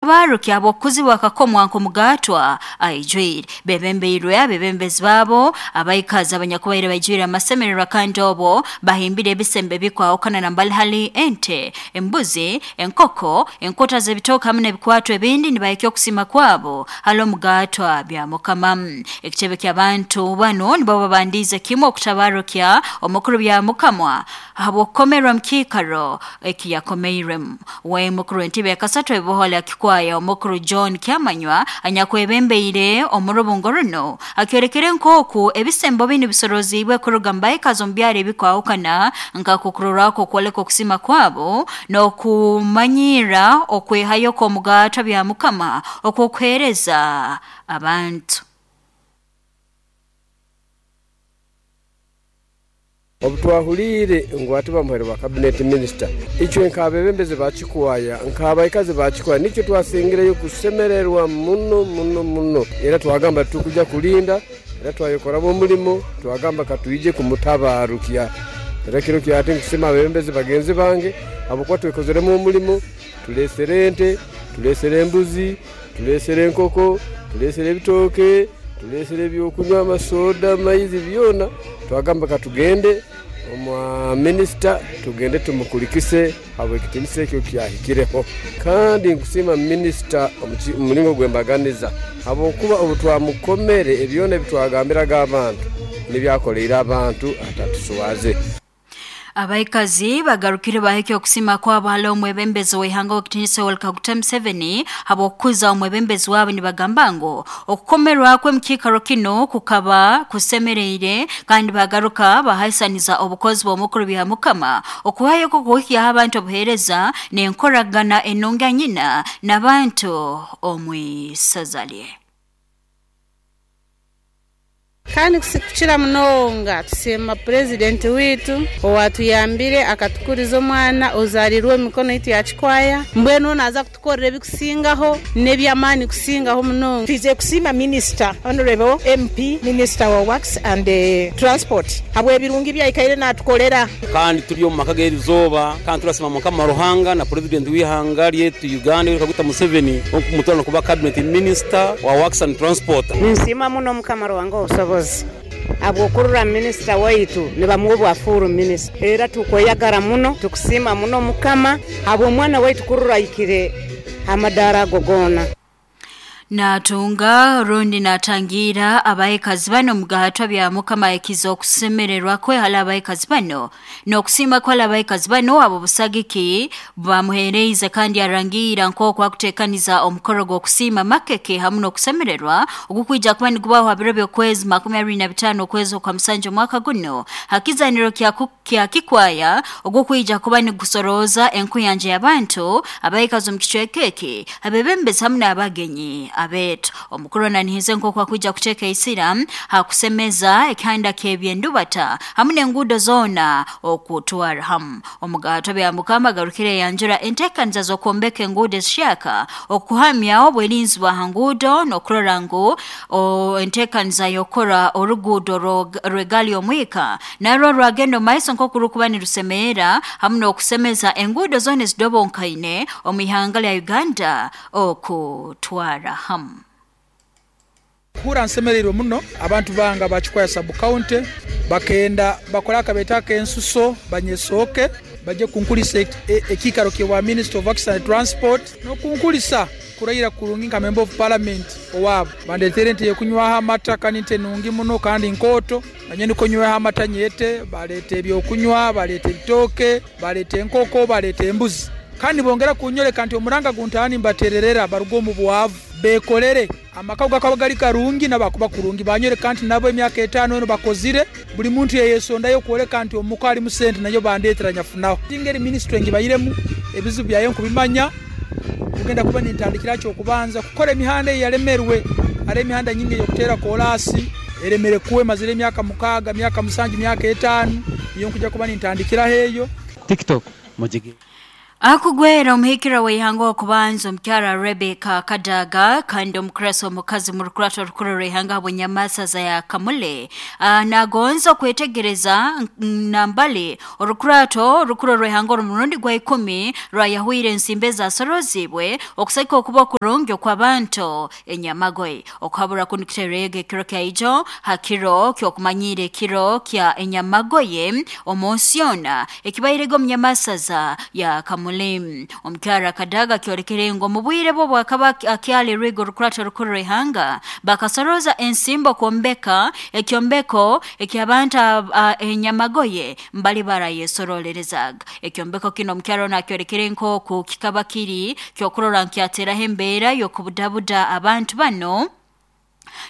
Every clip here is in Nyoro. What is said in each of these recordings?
N'okutabarukya habw'okukuzibwa akakomwa nk'omugaatwa aijwire. Bebembeirwe abebembezi baabo abaikazi abanyakubaire baijwire amasemererwa kandi obo bahimbire ebisembo ebikwahukana nambali hali ente, embuzi, enkoko, enkota z'ebitooke hamu n'ebikwato ebindi nibahikya okusima kwabo hali omugaatwa Byamukama. Ekitebe ky'abantu banu nibo babandiize kimu okutabarukya omukuru Byamukama habw'okukomerwa mu kiikaro ekiyakomeirwemu. We mukuru w'entebe yakasatu ebiboho Kikwaya omukuru John Kyamanywa anyakwebembeire omu rubungo runo akyorekere nk'oku ebisembo binu bisoroziibwe kuruga mu baikazi omu byaro ebikwahukana nkakukurorwako okwoleka okusima kwabo n'okumanyirra okwehayo kw'omugaatwa Byamukama okw'okuheereza abantu. Obu twahuliire ngu hati bamuhaire bwa Cabinet Minister, itwe nk'abebembezi ba Kikwaya, nk'abaikazi ba Kikwaya nikyo twasingireyo kusemererwa muno muno muno. Era twagamba titukuja kulinda, era twayekoramu omulimo, twagamba katwije kumutabarukya. Era kiro kya hati nkusima abebembezi bagenzi bange habwokuba twekozeremu omulimo, tulesere ente, tulesere embuzi, tulesere enkoko, tulesere ebitooke, tulesere ebyokunywa, amasoda, amaizi, byona. Twagamba katugende omwa minisita tugende tumukulikise habw'ekitinisa ekyo kyahikireho. Kandi nkusiima minisita omu mulingo gw'embaganiza habwokuba obu twamukomere ebyona ebi twagambiraga abantu nibyakoleire abantu atatuswaze. Abaikazi bagarukire bahikya okusima kwabo hali omwebembezi w'ihanga w'ekitinisa Yoweri Kaguta Museveni habw'okukuza omwebembezi wabo nibagamba ngu okukomerwa kwe mu kiikaro kinu kukaba kusemereire kandi bagaruka bahaisaniza obukozi bw'omukuru Byamukama okuhayo okuhikyaho abantu obuheereza n'enkoragana enungi anyina n'abantu omu isaza lye. Kandi kukira munonga tusiima Purezidenti waitu owatuyambire akatukuriza omwana ozarirwe omu mikono yaitu ya Kikwaya. Mbwenu onu naaza kutukorera ebikusingaho n'eby'amaani kusingaho munonga. Twizire kusiima Minisita Honourable MP Minister wa Works and Transport habw'ebirungi ebi aikaire natukorera. Kandi turi omu maka g'erizooba kandi turasiima Mukama Ruhanga na Purezidenti w'eihanga ryaitu Uganda Yoweri Kaguta Museveni okumutwara kuba Cabinet Minister wa Works and Transport. Ninsiima muno Mukama Ruhanga ow'obusobozi habw'okurora minisita waitu nibamuha obwa full minisita. Era tukweyagara muno, tukusiima muno Mukama habw'omwana waitu kurora ahikire ha madaara ago goona. Natunga rundi natangira abaikazi bano mugahatwa bya Mukama ekiza okusemererwa kwe hali abaikazi bano n'okusiima kwa hali abaikazi bano abo busagiki bamuhereize kandi arangira nk'oku akuteekaniza omukoro gw'okusiima makeke hamu n'okusemererwa ogukwija kuba nigubaho ha biro by'okwezi 25 okwezi okwa musanju omwaka guno hakizaniro kya Kikwaya ogukwija kuba nigusoroza enkuyanja y'abantu abaikazi omu kicweka eki abebembezi hamu n'abagenyi abeetu. Omukuru ananihize nk'oku akwija kuteeka isira hakusemeza ekihanda ky'ebyendubata hamu n'enguudo zoona okutwara hamu. Omugato bya Mukama agarukire yanjura enteekaniza z'okwombeka enguudo ezishyaka okuhamya obwerinzi bwa ha nguudo n'okurora ngu enteekaniza y'okukora oruguudo rw'egaali y'omwika narwo rwagenda omu maiso nk'oku rukuba nirusemeera hamu n'okusemeza enguudo zoona ezidobonkaine omu ihanga lya Uganda okutwara hamu. Kuhurra nsemereirwe muno, abantu bange aba Kikwaya Sub County bakenda bakole akabeeta ak'ensuso banyesooke baje kunkulisa ekiikaro ky'obwa Minister of Works and Transport n'okunkulisa kuraira kurungi nka Member of Parliament owaabo. Bandeteire ente y'okunywaho amata kandi nte nungi muno kandi nkooto, nanye nikwo nyweho amata nyete. Baleeta eby'okunywa, baleeta ebitooke, baleeta enkoko, baleeta embuzi kandi nibongera kunyoleka nti omuranga guntaha nimbatererera baruge omu bwavu beekorere. Amaka ago gakaba gari karungi nabo akuba kurungi. Banyoreka nti nabo emyaka etaano eno bakozire, buli muntu yayesondayo okwoleka nti omuka harimu sente nayo bandetera nyafunaho. Engeri minisitule ngibairemu, ebizibu byayo nkubimanya, kugenda kuba nintandikira ky'okubanza kukora emihanda eyalemerwe. Hariho emihanda nyingi ey'okuteera koraasi eremere kuwa emazire emyaka 6, myaka 7, myaka 5, niyo nkuja kuba nintandikiraho eyo. TikTok mugige. Akugwera omuhikira w'eihanga okubanza omukyara Rebecca Kadaga kandi omukurasi omukazi mu rukurato rukuru rw'eihanga habw'enyamasaza ya Kamule nagonza okwetegereza nambale orukurato rukuru rw'eihanga orumurundi gwa 10 rwayahwire ensimbi ezasorozibwe okusaika okuba okurungi okw'abantu enyamagoye okuhabura kunukiterega ekiro kyaijo hakiro ky'okumanyira ekiro kya enyamagoye omunsi yona ekibairege omunyamasaza ya Kamule. Omukyara Kadaga kyolekere ngo mu bwire bwo bwakaba akyali rwigo rukurato rukuru rw'eihanga bakasoroza ensimbo kwombeka ekyombeko eky'abantu enyamagoye mbali barayesorolerezaga. Ekyombeko kino omukyara ono akyolekere nk'oku kikaba kiri kyokurora nkyateraho embeera y'okubudabuda abantu bano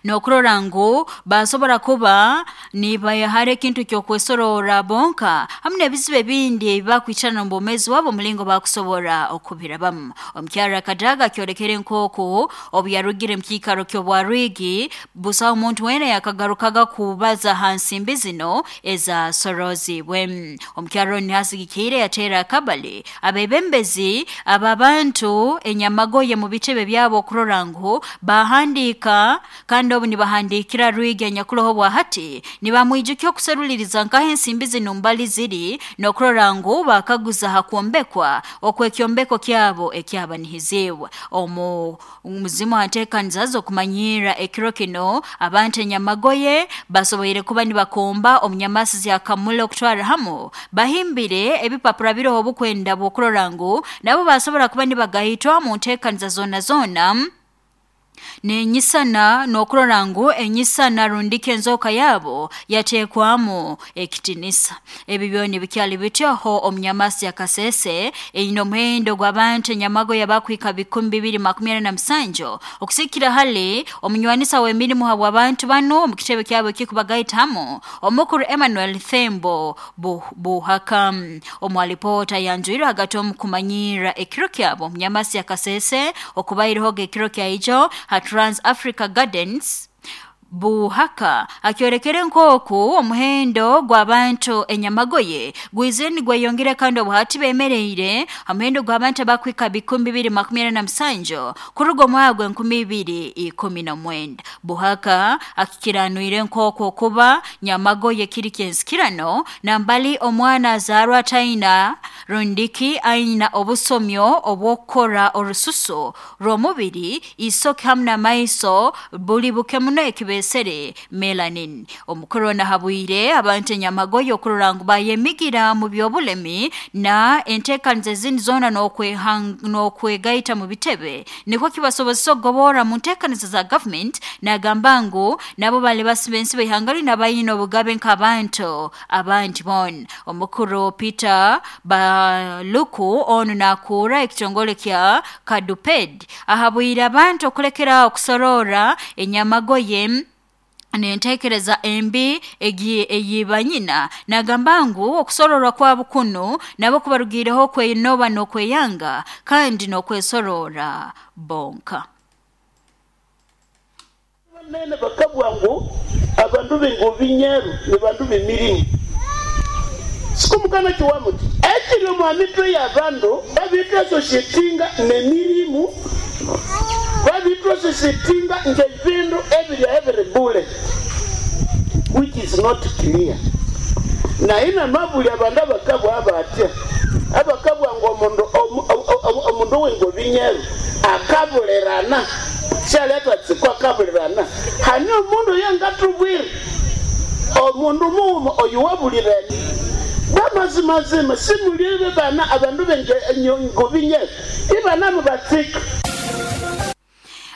n'okurora ngu basobora kuba nibayahara ekintu ky'okwesorora bonka hamwe n'ebizibu ebindi ebibakwicarana omu bwomeezi bwabo omulingo bakusobora okubirabamu. Omukyara Kadaga kyolekere nk'oku obu yarugire mu kiikaro ky'obwarwigi busaho omuntu weena yakagarukaga kubaza ha nsimbi zino ezasorozibwe. Omukyara onu nihasigikiire yateera akabali abebembezi ab'abantu enyamagoye mu bitebe byabo okurora ngu bahandiika kandi obu nibahandikira rwigi anyakuroho bwahati nibamwijukya okuseruliriza nkaho ensimbi zino mbali ziri n'okurora ngu bakaguza ha kwombekwa okw'ekyombeko kyabo ekyabanihizibwe. Omu muzimu hanteekaniza z'okumanyirra ekiro kino abantu enyamagoye basoboire kuba nibakomba omunyamasi ya Kamule okutwara hamu bahimbire ebipapura biroho obukwenda bw'okurora ngu nabo basobora kuba nibagahitwa mu nteekaniza zoona zoona nenyisana n'okurora ngu enyisana rundika enzoka yabo yateekwamu ekitinisa. Ebi byona bikyali bityoho omunyamasi ya Kasese eyine omuhendo gw'abantu enyamagoye abakwika 2,247 okusikira hali omunywanisa w'emirimu habw'abantu bano omu kitebe kyabo ekikubagaita hamu omukuru Emmanuel Thembo Buhaka. Omu alipoota yanjwire hagati omu kumanyirra ekiro kyabo omunyamasi ya Kasese okubairehoga ekiro kyaijo ha Trans Africa Gardens. Buhaka akyolekere nk'oku omuhendo gw'abantu enyamagoye gwizire nigweyongera kandi obuhati bemereire omuhendo gw'abantu abakwika 2,247 kuruga omwaka gwa 2019. Buhaka akikiranwire nk'oku okuba nyamagoye kiri kyensikirano nambali omwana azaarwa ataina rundiki aina obusomyo obw'okukora orususu rw'omubiri isoke hamu n'amaiso buli buke muno ekibesere melanin. Omukuru nahabwire abantu enyamagoye okurora ngu bayemigira mu by'obulemi na enteekaniza ezindi zoona n'okwegaita mu bitebe nikwo kibasobozesa okugobora mu nteekaniza za government. Nagamba ngu nabo bali basiba ensi b'eihanga linu abayine obugabe nk'abantu abandi boona. Omukuru Peter Baluku onu nakuura ekitongole kya Kaduped ahabwire abantu okulekera okusorora enyamagoye nentekereza embi eyibanyina. Nagamba ngu okusororwa kwabo kuno nabo kubarugireho kwenoba n'okweyanga kandi n'okwesorora bonka. Nene bakabwa ngu abandu b'engobi nyeru ni bandu b'emirimu sikumukana kiwamuti ekiri omu mitwe y'abandu babitwasosietinga n'emirimu babitwasosietinga ng'ebindu ebirya ebiri bule, which is not clear. Naye namabuli abandu abakabwa abatya abakabwa ngu omundu w'engobi nyeru akabulirana syaleta tsiko akabulirana hani omundu yengatubwire omundu muwuma oyu wabulirene bamazimazima simulibe bana abandu b'engobi nyeru ibana mubatsika.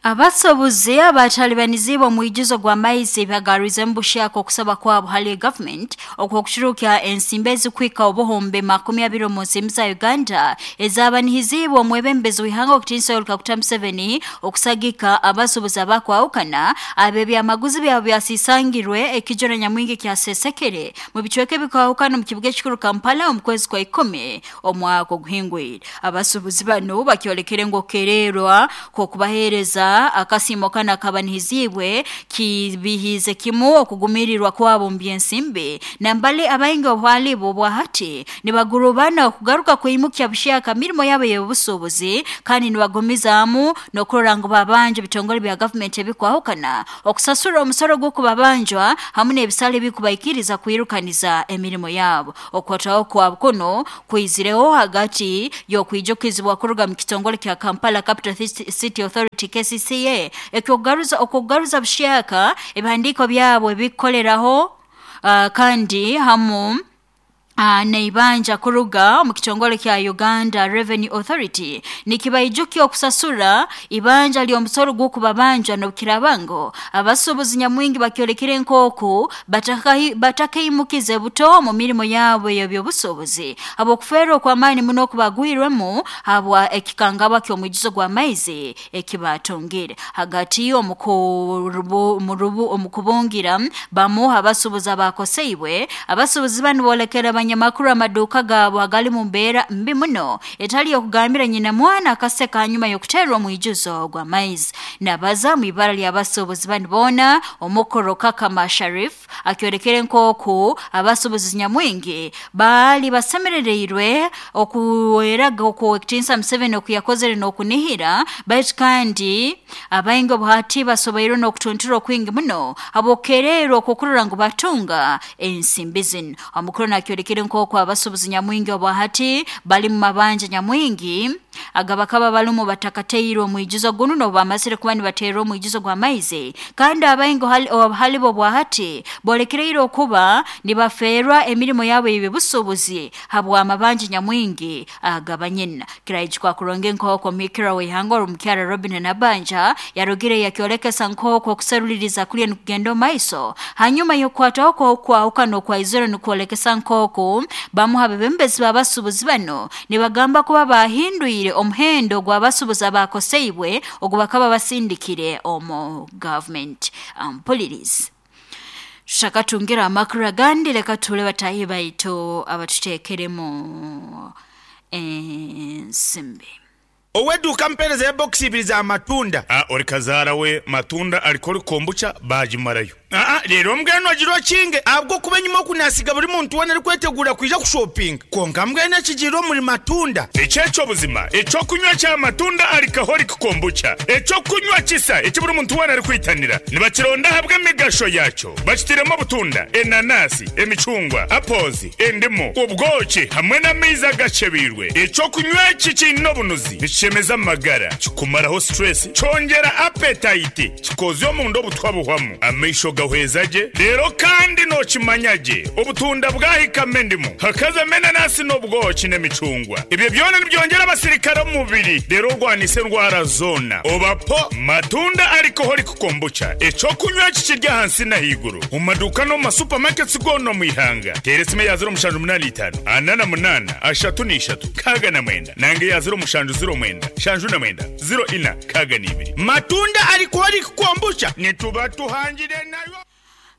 Abasobuzi abatalibanizibwa omwijuzo gwa maizi bagarize mbushako okusaba kwabo hali government okwokushurukya ensimbi ezikwika obuhumbi 20 mu nsimbi za Uganda ezabanihizibwa omwebembezi w'ihanga okutinsa Yoweri Kaguta Museveni okusagika abasobuzi abakwawukana abebyamaguzi byabo byasisangirwe ekijoro nyamwingi kyasesekere mu bicweka ebikwawukana mu kibuga ekikuru Kampala omu kwezi kwa 10 omwaka oguhingwire. Abasobuzi bano bakyolekere ngu okererwa kw'okubaheereza Nagamba akasiimo kanu akabanihiziibwe kibihiize kimu okugumirirwa kwabo omu by'ensimbi nambali abaingi obwalibo obwahati nibagurubana okugaruka kwimukya buhyaka mirimo yabo ey'obusuubuzi kandi nibagumizaamu n'okurora ngu babanja ebitongole bya gavumenti ebikwahukana okusasura omusoro gw'okubabanjwa hamu n'ebisale ebikubaikiriza kwirukaniza emirimo yabo. Okukwatwaho kwabo kuno kwizireho hagati y'okwijukizibwa kuruga mu kitongole kya Kampala Capital City Authority KCCA ekyokugaruza okugaruza buhyaka ebihandiiko byabo ebikukoleraho kandi hamu neibanja kuruga omu kitongole kya Uganda Revenue Authority nikibaijukya okusasura ibanja ly'omusoro gw'okubabanja n'obukiraaba ngu abasuubuzi nyamwingi bakyolekere nk'oku batakaimukize buto omu mirimo yabo ey'ebyobusuubuzi habw'okufeerwa okw'amaani muno okubagwirwemu habwa ekikangabwa ky'omwijuzo gw'amaizi ekibatungire. Hagati omu kubungira bamu abasuubuzi abakoseibwe, abasuubuzi banu boolekera abanyamakuru amaduuka gaabo agali mu mbeera mbi muno etali y'okugambira nyina mwana akaseka hanyuma y'okuteerwa omwijuzo gw'amaizi. Nabaza mu ibara ly'abasuubuzi banu boona, Omukoro Kakama Sharif akyolekere nk'oku abasuubuzi nyamwingi baali basemerereirwe okuweraga okw'Owekitinsa Museveni okuyakozere n'okunihira baitu kandi abaingi obuhati basoboirwe n'okutuntura okwingi muno habw'okukererwa okw'okurora ngu batunga ensimbi zinu. Omukuru nakyolekere nk'oku abasuubuzi nyamwingi obwahati bali mu mabanja nyamwingi agabakaba balumu batakateirwe omwijuzo gunu n'obu bamazire kuba nibateerwa omwijuzo gw'amaizi kandi abaingi halibo obwahati bolekereire okuba nibafeerwa emirimo yabo ey'eby'obusuubuzi habw'amabanja nyamwingi agabanyina. Kiraijukwa kurungi nk'oku omuhikirwa w'ihanga Omukyara Robinah Nabbanja yarugire yakyolekesa nk'oku okuseruliriza kuliyo nikugenda omu maiso hanyuma y'okukwatwaho kw'okwahukana okwaizire nikwolekesa nk'oku bamu ha bebembezi b'abasuubuzi banu nibagamba kuba bahindwire omuhendo gw'abasuubuzi abakoseibwe ogu bakaba basindikire omu gavumenti. Mpulirizi tushakatungira amakuru agandi, leka tuhule bataahi baitu abatuteekeremu ensimbi. Ow'eduuka mpeereza ya bokisi ibiri za matunda. A Ori kazaara we matunda alcoholic kombucha baagimarayo. Aa Reero mbwenu ogire okinge ahabw'okuba enyima oku naasiga buri muntu weena arikweteguura kwija kushopinga. Kwonka mbwenu ekigiire omuri matunda. Eki eky'obuzima, eky'okunywa kya matunda alcoholic kombucha, eky'okunywa kisa eki buri muntu weena arikwitanira. Nibakironda ahabw'emigasho yaakyo. Bakitiremu obutunda, enanasi, emicungwa, apples, endimu, obwoki hamwe n'amaizi agakyebeirwe. Eky'okunywa eki kiine obunuzi, nikishemeza amagara, kikumaraho stress, kyongyera appetite, kikozya omunda obutwa buhwamu, amaisho gahweza gye, reero kandi nookimanya gye obutunda bwahikamu endimu, hakazamu enanasi n'obwoki n'emicungwa. Ebyo byona nibyongyera abasirikare omu mubiri reero orwanise endwara zoona. Oba po matunda alcoholic Kombucha, eky'okunywa eki kiri ahansi n'ahaiguru omu maduuka n'omu ma supermarkets goona omu ihanga. Teera esimu eya 0785 48 33 69 nanga eya 0709 79 04 62. Matunda Alcoholic Kombucha nituba tuhangire nayo.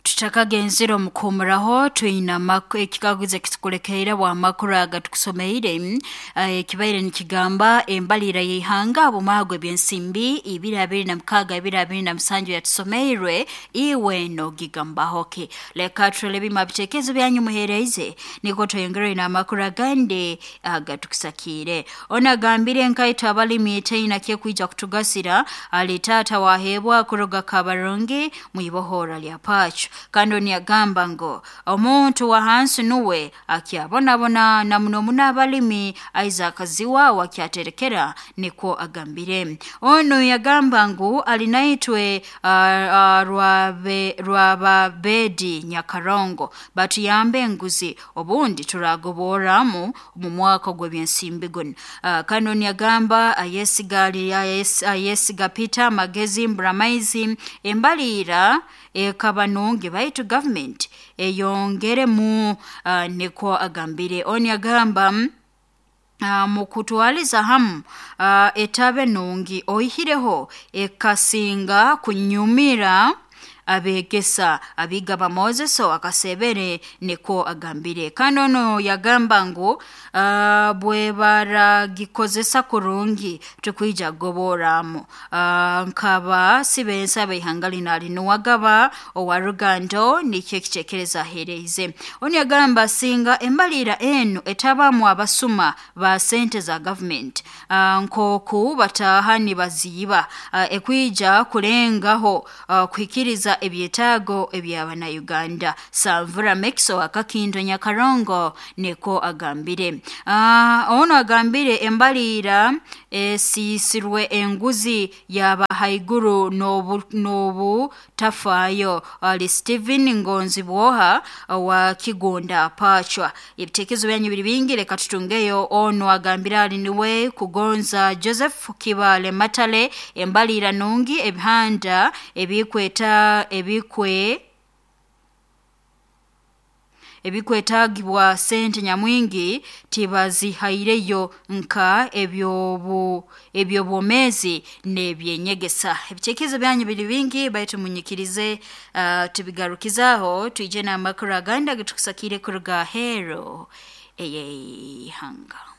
Tutakagenzere omu kuhumuraho, twine ekikaguzo ekitukulekeire bw'amakuru aga tukusomeire ekibaire nikigamba embalirira y'ihanga habw'omwaka gw'ebyensimbi ibiri abiri na mukaaga ibiri abiri na musanju yatusomeirwe iwe nogigambaho ki? Leka turole bimu ha bitekerezo byanyu muheereize nikwo tweyongereyo n'amakuru agandi agatukusakiire. Onu agambire nkaitwe abalimi taina kyekwija kutugasira ali taata waheebwa kuruga Kabarungi mwibohora lya Pacho. Kandi onu yagamba ngu omuntu wa hansi nuwe akyabonabona na muno muno abalimi Isaac Ziwa wakyaterekera nikwo agambire. Onu yagamba ngu alinaitwe Rwababedi Nyakarongo batuyambe enguzi obundi turagoboramu omu mwaka gw'ebyensimbi gunu. Kandi onu yagamba ayesiga Peter Magezi Mburamaizi embalira ekaba nungi baitu gavumenti eyongeremu nikwo agambire. Onu yagamba mukutwaliza hamu etabe nungi oihireho ekasinga kunyumira abegesa Abigaba Moses akasebere niko agambire. Kandi ono yagamba ngu bwe baragikozesa kurungi tukwija kugoboramu nkaba sibensa ab'ihanga lino alinuwagaba owa Rugando nikyo ekitekerezo aheereize. Ono yagamba singa embalira enu etabamu abasuma ba sente za government nkoku bataha nibaziiba ekwija kulengaho kuhikiriza ebyetaago eby'abannayuganda. Sanvura Mekiso Akakindo Nyakarongo niko agambire. Ono agambire embalira esiisirwe enguzi yaba haiguru n'obutafaayo ali Stephen Ngonzi Bwoha wa Kigunda Pachwa. Ebitekerezo byanyu biri bingi, leka tutungeyo. Ono agambire ali niwe Kugonza Joseph Kibale Matale, embalira nungi ebihanda ebikweta ebikwe ebikwetagibwa sente nyamwingi tibazihaireyo nka ebyobwomezi n'ebyenyegesa. Ebitekerezo byanyu biri bingi, baitu munyikirize tubigarukizaho twije n'amakuru agandi agatukusakire kuruga hero ey'eihanga.